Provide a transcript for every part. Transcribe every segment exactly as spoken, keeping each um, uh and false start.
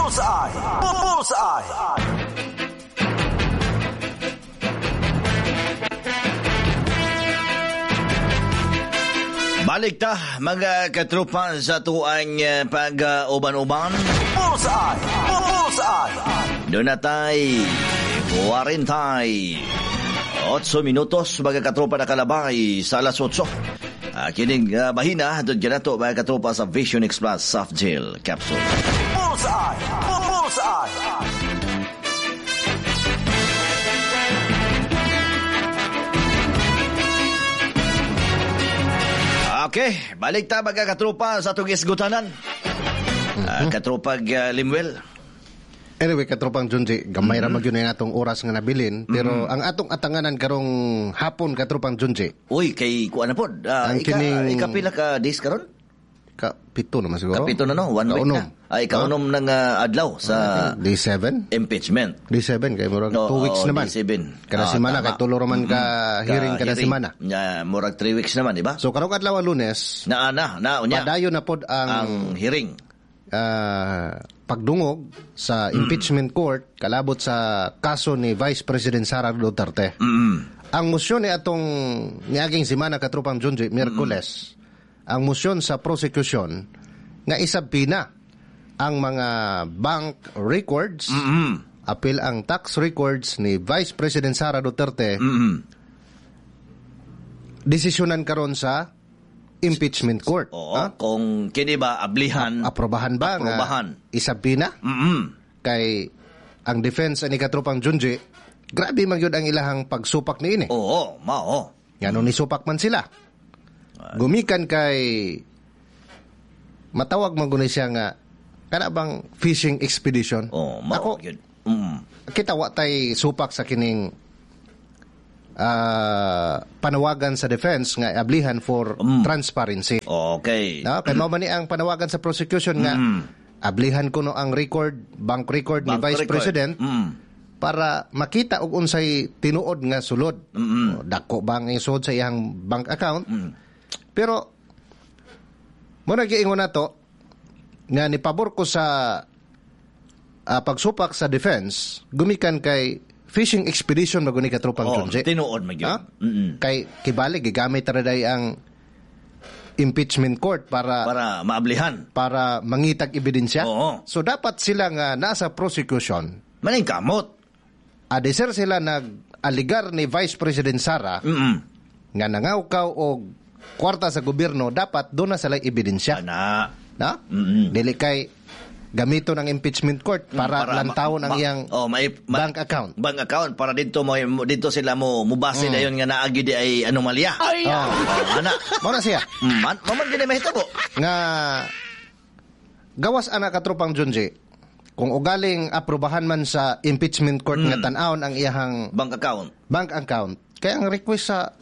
Bullseye! Bullseye! Balik ta mga katropa sa tuang eh, pag-uban-uban. Bullseye! Bullseye! Doon na tay, kwarentay. Otso minutos mga katropa na kalabay sa alas otso. Uh, kining uh, bahina, doon ganato mga katropa sa Vision X Plus Soft Gel Capsule. Bullseye! Bullseye! Okay, balik ta mga katropa sa atong isgutanan. Mm-hmm. Uh, katropag uh, Limuel. Anyway, katropang Junji, gamay mm-hmm. ra magyud ang atong oras nga nabilin, pero mm-hmm. ang atong atanganan karong hapon, katropang Junji. Uy, kay kuan na pod. Uh, ang ika, kining ikapila ka days karon? Ka pito naman siguro. Kapito na no, one week Kaunom. na. Ay kaunom ng uh, adlaw sa Day seven? Impeachment. Day seven kay murag No, two weeks oo, naman. Day seven. Kada Ah, semana tama. kay tulo ra man ka hearing kada hearing. semana. Yeah, murag three weeks naman, di ba? So karong adlaw Lunes, Na na na unya. padayon na pod ang, Ang hearing. ah, pagdungog sa impeachment court kalabot sa kaso ni Vice President Sara Duterte. Mm. Ang motion ni atong niaging semana katropang Junji, Miyerkules, ang motion sa prosecution nga isabpina ang mga bank records, Mm. apil ang tax records ni Vice President Sara Duterte, Mm. desisyonan karon sa impeachment court. Oo, Ha? kung kini ba ablihan, Aprobahan ba nga Aprobahan. isabpina? Mm. Kay ang defense ani katropang Junji, grabe man gyud ang ilahang pagsupak niini. Oo, mao. Ngano nisupak man sila. Gumikan kay matawag man guni siya nga kana bang fishing expedition. Oo, mao Ako gyud. Mm. kita wa tay supak sa kining ah, panawagan sa defense nga ablihan for transparency. Okay. No, kay mao man ni ang panawagan sa prosecution nga ablihan kuno ang record, bank record ni Bank Vice record. President Mm. para makita og unsay tinuod nga sulod. O, dako ba ang isod sa iyang bank account? Pero mo na giingon nato nga ni pabor ko sa ah, pagsupak sa defense gumikan kay fishing expedition maguni katropang Oh, Junji. tinuod man gyud. Ha? Mm. Kay kibali gigamit ra day ang impeachment court para Para maablihan. para mangitag ebidensya. Oo. So dapat sila nga nasa prosecution Maning kamot. Adeser sila nag-aligar ni Vice President Sara Mm. nga nangawkaw og kwarta sa gobyerno, dapat doon na sila ebidensya. Ana. Na? Mm-mm. Dili kay gamito ng impeachment court para, Mm, Para lantawon ang ma- iyang oh, may, ma- bank account. Bank account para dito mo dito sila mo mubase mm. dayon nga naagi di ay anomalya. Ay! Oh, ana. Mao na siya. Mm, man, man gid mahitabo. Nga gawas ana katropang Junji, kung ugaling aprobahan man sa impeachment court nga tan-awon ang iyahang Bank account. bank account, kaya ang request sa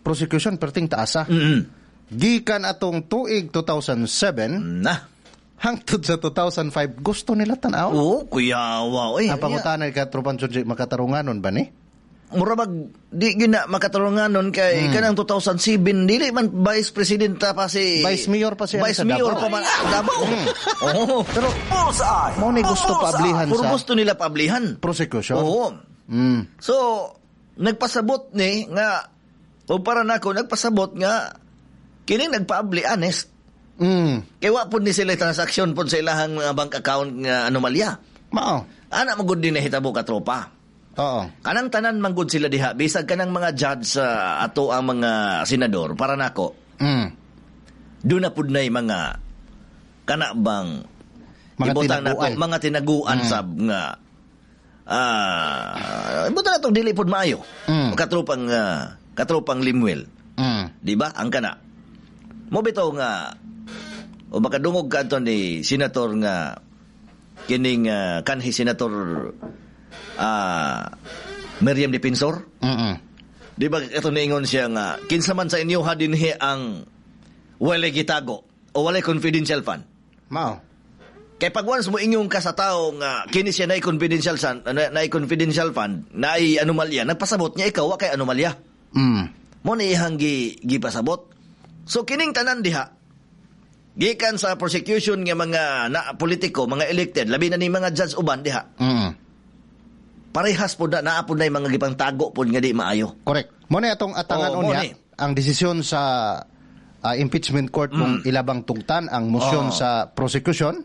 prosecution perting taasa. Mm. Gikan atong tuig two thousand seven Na. hangtod sa two thousand five gusto nila tan-aw. Oo, kuyawa oy. Ang pangutana kay katropang Junji, makatarunganon ba ni? Mura bag di gyud na makatarunganon kay Mm. kanang two thousand seven dili man vice president pa si Vice mayor pa siya Vice sa mayor Davao. pa man ah, Davao. Mm. Oo. Pero Bullseye! mao ni gusto paablihan Puro sa gusto nila paablihan. prosecution. Oo. Mm. So nagpasabot ni nga o para nako nagpasabot nga kining nagpaabli honest. Mm. Kay wa pud ni sila transaction pud sa ilahang mga bank account nga anomalya. Mao. Ana magud din nahitabo ka tropa. Oo. Kanang tanan manggod sila diha bisag kanang mga judge sa ato ang mga senador para nako. Mm. Doon na pud nay mga kana bang Mga ibutang nato, tinaguan. mga tinaguan Mm. sab nga ah ibutang nato dili pud maayo. Mm. Katropang ah, katropang Limuel. Mm. Di ba? Ang kana. Mo bitaw nga o makadungog ka ato ni senator nga kining ah, kanhi senator ah, Miriam Defensor. Mm-mm. Di ba ito niingon siya nga kinsa man sa inyo ha dinhi ang walay gitago o walay confidential fund. Mao. Kay pag once mo inyong ka sa tao nga kini siya naay confidential san, na, naay confidential fund, naay anomalya, nagpasabot niya ikaw wa kay anomalya. Mm. Mo ni ihang gi, gipasabot. So kining tanan diha Gikan sa prosecution nga mga na politiko, mga elected, labi na ni mga judge uban diha. Mm. Parehas po na naa po na yung mga gipangtago po nga di maayo. Correct. Mo na atong atangan Oo, mo unya ni. Ang desisyon sa ah, impeachment court kung ilabang tugtan ang motion Mm. Oo. sa prosecution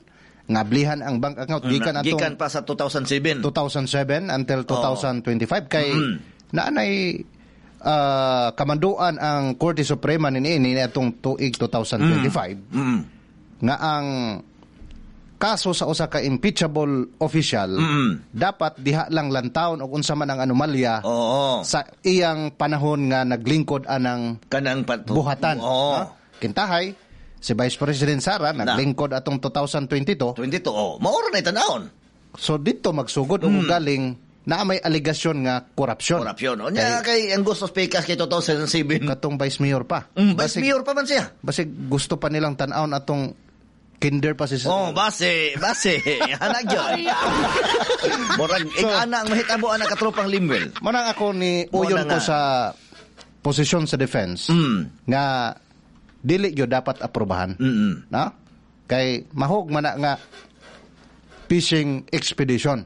nga ablihan ang bank account gikan atong Gikan pa sa two thousand seven. two thousand seven until twenty twenty-five kay Mm. naanay ah, kamanduan ang Korte Suprema niini atong tuig twenty twenty-five Mm. nga ang kaso sa usa ka impeachable official Mm. dapat diha lang lantawon og unsa man ang anomalya Oo. sa iyang panahon nga naglingkod anang Kanang pat buhatan. Oo. Ha? Kintahay si Vice President Sara naglingkod atong twenty twenty-two. twenty-two. Oh, maura na itanawon. So dito magsugod og galing na may aligasyon nga korupsyon. Mm. Korupsyon. O nya kay ang gusto speakers kay two thousand seven. Katong Vice Mayor pa. Mm, Vice Basig, Mayor pa man siya. Basig gusto pa nilang tan-awon atong kinder pa si Oh, base, base. Hanag yun. Murag so, ana ang mahitabo ana katropang Limwell. Mo nang ako ni Mo uyon na ko nga. sa posisyon sa defense Mm. nga dili gyud dapat aprobahan. Mm. Na? Kay mahog man na nga fishing expedition.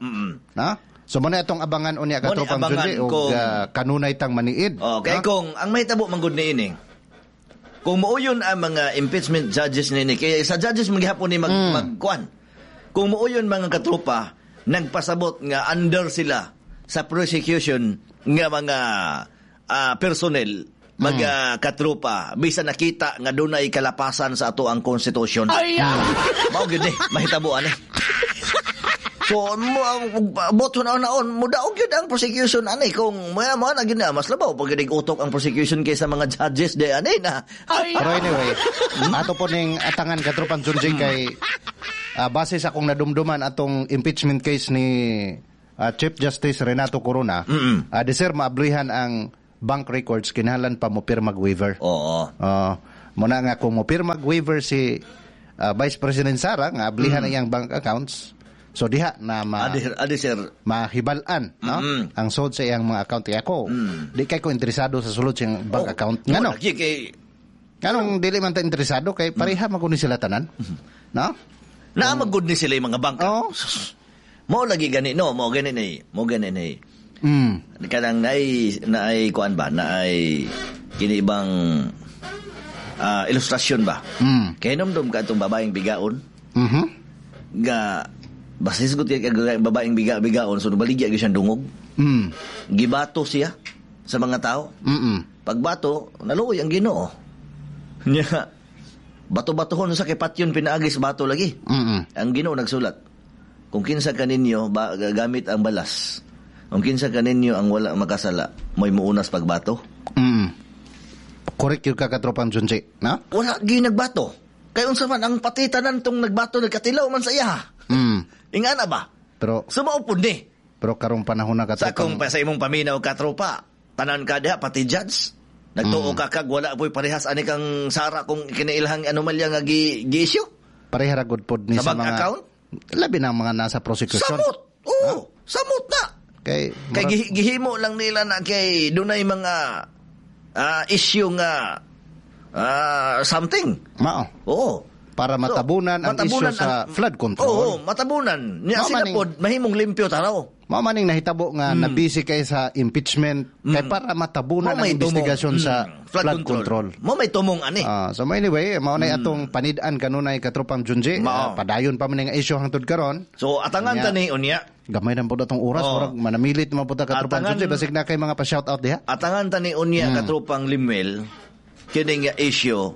Na? So mo na itong abangan unya Mo ni katropang abangan Junji og kung- ah, kanunay tang maniid. Oh, kay Na? kung ang mahitabo man gud niini. Kung muuyon ang mga impeachment judges nini, kay sa judges maghapon ni mag Mm. magkuan. Kung muuyon mga katropa nagpasabot nga under sila sa prosecution nga mga ah, personnel, mga katropa, bisan nakita nga dunay kalapasan sa ato ang konstitusyon. Ay! Mao gyud eh, mahitabo ani. So, mo boto na naon, mo daog gyud ang prosecution ani kung mo mo na gyud na mas labaw pag gyud utok ang prosecution kaysa mga judges de ani na. Pero anyway, ato po ning atangan, katropang Junji, kay ah, base sa akong nadumduman atong impeachment case ni ah, Chief Justice Renato Corona, Mm-mm. uh, di sir maablihan ang bank records, kinahanglan pa mo pirmag waiver. Oo. Uh, muna nga kung mo pirmag waiver si ah, Vice President Sara nga ablihan ang iyang bank accounts. So diha na ma Adi, adi sir. Mahibal-an, no, Mm-mm. ang sud sa iyang mga account. Kaya ako, di kay ko interesado sa sulod sa iyang bank Oh, account. Ngano? Lagi kay Nganong dili man ta interesado kay pareha man kuno sila tanan? No? Naa magud ni sila yung mga bank. Oo. Mo lagi gani no, mo gani ni, mo gani ni. Mm. Kanang naay naay kuan ba, naay kini ibang ah, ilustrasyon ba? Mm. Kay nomdom ka atong babaeng bigaon Mhm. nga basta hisgot kay kag babaeng biga bigaon, so baligya gyud siyang dungog. Mm. Gibato siya sa mga tao. Mm. Pagbato, naluoy ang Ginoo. Nya bato-batohon sa kay patyon pinaagi sa bato lagi. Mm. Ang Ginoo nagsulat. Kung kinsa kaninyo ba, gamit ang balas, kung kinsa kaninyo ang wala makasala, mo'y muunas pagbato. Mm. Correct yun ka, katropang Junji, no? Wala gyud nagbato. Kay unsa man ang patitanan tong nagbato, nagkatilaw man sa iya. Mm. Ingana ba? Pero Sumao pud ni. Pero karong panahon na Sa kung katropang pa sa imong paminaw katropa, tanan ka diha pati judge. Nagtuo ka kag wala po'y parehas ani kang Sara kung kinailhang anomalya nga gi, gi-issue. Pareha ra gud pod ni Sa sa, bank mga account? Labi na ang mga nasa prosecution. Samot. Oo, samot na. Kay Kay murag- gihi- gihimo lang nila na kay dunay mga ah, issue nga ah, something. Mao. Oo. Para matabunan ang matabunan issue sa ang- flood control. Oo, matabunan. Nya Mao sila maning- pod mahimong limpyo taraw. Mao maning nahitabo nga mm. nabisi kay sa impeachment kay para matabunan Mao ang may tumong. investigasyon sa Mm, flood control. Mo may tumong ani. Ah, so anyway, mao na atong panid-an kanunay, katropang Junji. Mao. Ah, padayon pa man nga issue hangtod karon. So atangan Unya. ta ni unya. Gamay na po atong oras, Oo. murag manamilit man po ta, katropang Atangan- Junji, basig na kay mga pa-shout out diha. Atangan ta ni unya Hmm. katropang Limuel kini nga issue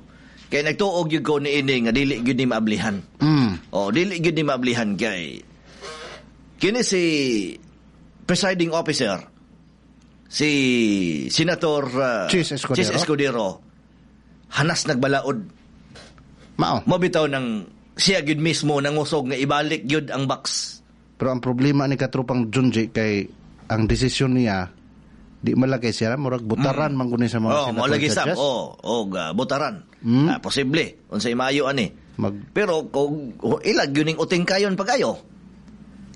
kay nagtuog gyud ko niini nga dili gyud ni maablihan. Mm. Oh, dili gyud ni maablihan kay kini si presiding officer, si Senator uh, Chis Escudero. Chis Escudero, hanas nagbalaod. Mao. Mao bitaw nang siya gyud mismo nangusog nga ibalik gyud ang box. Pero ang problema ni katropang Junji kay ang desisyon niya di man lang kay siya murag butaran man kuno sa mga Oh, mo senator lagi sab. judges. Oh, oh, ga, butaran. Mm. Ah, posible unsay maayo ani. Mag Pero kung ilag yun ning uting kayon pagayo.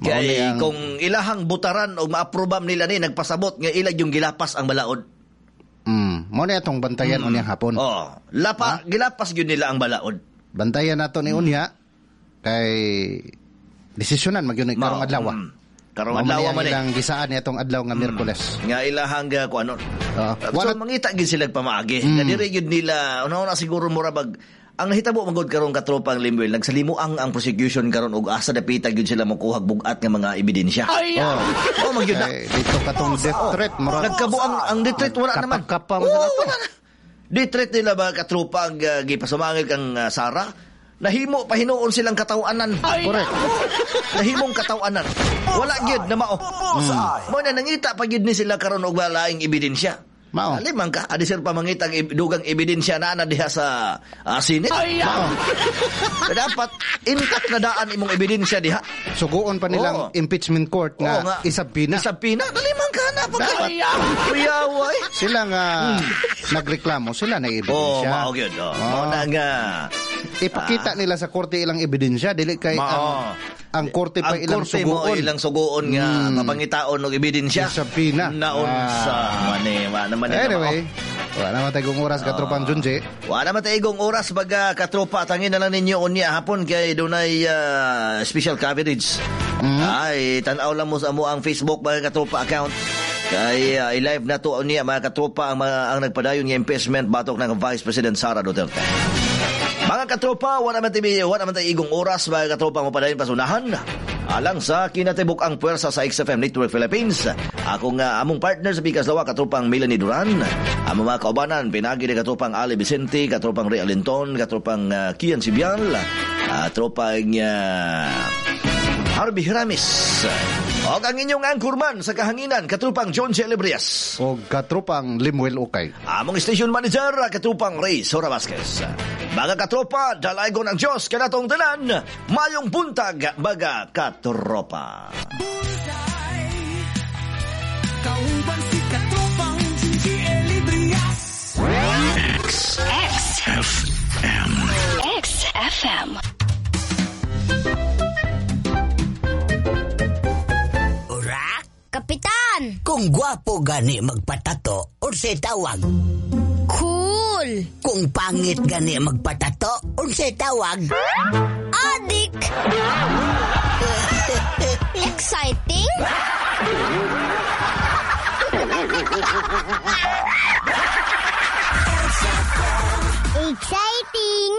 Mao Kay ni ang- kung ilahang butaran o maaprobam nila ni nagpasabot nga ilag yung gilapas ang balaod. mm, mao ni atong bantayan unyang hapon. Oh, lapa gilapas gyud nila ang balaod. Bantayan nato ni unya kay desisyonan magyud ni karong adlaw. Mm. Karong Mao man adlaw ni ang man eh. ilang gisaan ni atong adlaw nga Miyerkules. Nga ilahang uh, kuanon. Oo. So Wala- mangita gid sila pamaagi. Nga diri gyud nila una na siguro mura bag ang nahitabo man gud karon katropang Limwell, nagsalimo ang ang prosecution karon og asa dapita gyud sila mokuhag bugat nga mga ebidensya. Oh. Oh, man gyud na. Kay dito katong death threat mura Nagkabuang ang death threat, wala naman. Kapag-kapa mo Oo, sila to. wala na. Death threat nila ba katropa ang uh, gipasumangil kang uh, Sara? Nahimo pa hinuon silang katawanan. Correct. Nahimong katawanan. Wala gyud na mao. Bullseye. Mo na nangita pa gyud ni sila karon og walaing ebidensya. Mao. Alimang ka, adi sir pa mangita ang ib- dugang ebidensya na ana diha sa uh, Senate. Mao. Dapat intact na daan imong ebidensya diha. Suguon pa nilang Oo. impeachment court nga, Oo nga. isabina. Isabina, dalimang ka na. Pagka. Kuyaway. Sila nga nagreklamo, sila na Oh, ebidensya. mao gyud. Oh. Oo. Mao na nga. Ipakita nila sa korte ilang ebidensya dili kay Mao. ang ang korte pa Ang ilang korte mo suguon. ilang suguon nga mapangitaon og ebidensya. Isabina. Naunsa Ah. man eh, wa naman eh, Anyway, wala naman tayong oras katropang Junji. Wala man tayo oras baga katropa, tangin na lang ninyo unya hapon kay dunay ah, special coverage. Ay, tan-aw lang mo sa amo ang Facebook, mga katropa, account. Kay ah, i-live na to unya, mga katropa, ang mga ang nagpadayon nga impeachment batok ng Vice President Sara Duterte. Mga katropa, wala man tayo, wala man tayo igong oras, mga katropa, mapadayon pasunahan. Alang sa kinatibuk ang puwersa sa X F M Network Philippines. Ako nga among partner sa Pikas Lawa, katropang Melanie Duran. Among mga kaubanan, pinagi ni katropang Ali Vicente, katropang Ray Alinton, katropang uh, Kian Sibial, uh, tropang uh, Harvey Hiramis. O ang inyong anchorman sa kahanginan, katropang John Celebrias. O katropang Limuel Ukay. Among station manager, katropang Ray Sora Vasquez. Mga katropa, dalaygon ang Diyos kanatong tanan, mayong buntag, mga katropa. Kauban si Katropang Gingy Elibrias. X F M. X F M. Urak, Kapitan! Kung gwapo gani magpatato, unsay tawag? Cool! Kung pangit gani magpatato, unsay tawag? Adik! Exciting? Exciting!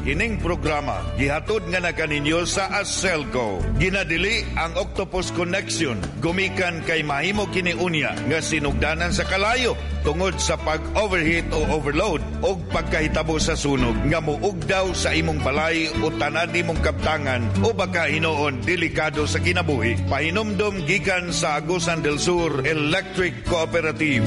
Kining programa gihatod nga na kaninyo sa Aselco. Ginadili ang Octopus Connection gumikan kay mahimo kini unya nga sinugdanan sa kalayo tungod sa pag-overheat o overload og pagkahitabo sa sunog nga muugdaw sa imong balay o tanan nimong kaptangan o baka hinuon delikado sa kinabuhi. Pahinumdom gikan sa Agusan del Sur Electric Cooperative.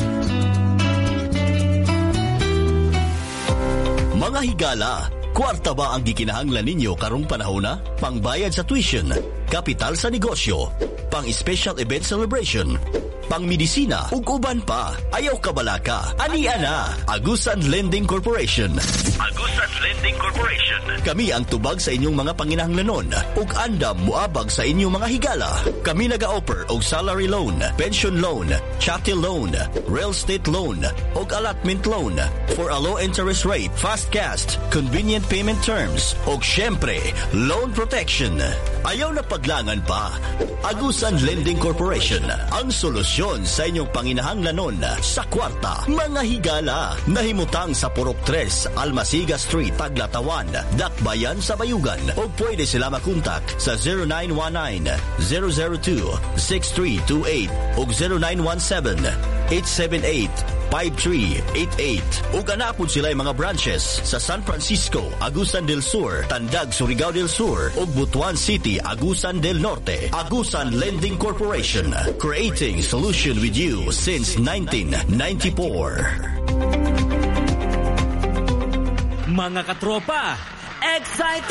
Mga higala, kwarta ba ang gikinahanglan ninyo karong panahona? Pangbayad sa tuition, kapital sa negosyo, pang special event celebration, pang medisina ug uban pa. Ayaw kabalaka. Ani ana, Agusan Lending Corporation. Agusan Lending Corporation. Kami ang tubag sa inyong mga panginahanglanon ug andam muabag sa inyong mga higala. Kami naga-offer og salary loan, pension loan, chattel loan, real estate loan, ug allotment loan for a low interest rate, fast cash, convenient payment terms, ug syempre, loan protection. Ayaw na paglangan pa. Agusan Lending Corporation, ang solusyon sa inyong panginahanglanon sa kwarta. Mga higala, nahimutang sa Purok tres, Almasiga Street, Taglatawan, Dakbayan sa Bayugan. O pwede sila makontak sa zero nine one nine, zero zero two, six three two eight o zero nine one seven, eight seven eight, five three eight eight. Ug anapod sila mga branches sa San Francisco, Agusan del Sur, Tandag, Surigao del Sur, ug Butuan City, Agusan del Norte. Agusan Lending Corporation, creating solution with you since nineteen ninety-four. Mga katropa, exciting.